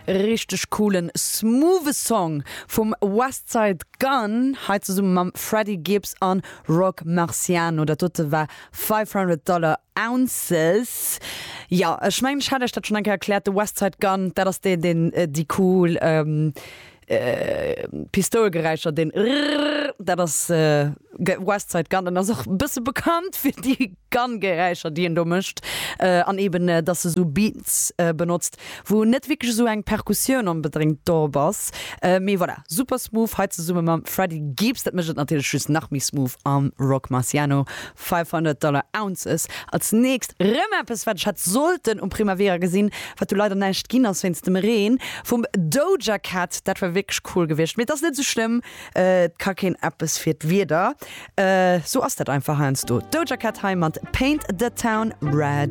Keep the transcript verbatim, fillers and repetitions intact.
Richteg coolen smoothe Song vum Westside Gunn, hei zesumme mam Freddie Gibbs an Roc Marciano. Dat dote war five hundred Dollar Ounces. Jo, ech mengen, ech hat iech dat schonn eng Kéier erkläert, de Westside Gunn, dat ass deen, deen äh, déi cool ähm, äh, Pistoulgeräischer, den Rrrr, dat ass äh, Westside Gunn, an ass och e bësse bekannt fir déi Gun-Geräischer, déi en do mécht, äh, an eben äh, dass e sou Beats äh, benotzt, wou net wierklech sou eng Perkussioun onbedéngt do ass, äh, mee voilà, super smooth hei zesumme mam Freddie Gibbs, dat mécht et natierlech just nach méi smooth, am Roc Marciano, five hundred Dollar Ounces. Als nächst rëm eppes, wat ech hätt sollten um Primavera gesinn, wat du leider näischt ginn ass wéinst dem Reen, vum Doja Cat. Dat war wierklech cool gewiescht, mee dat ass net sou schlëmm, äh, ka keen eppes fir d'Wieder, äh, sou ass dat einfach heiansdo. Doja Cat hei mat Paint the Town Red.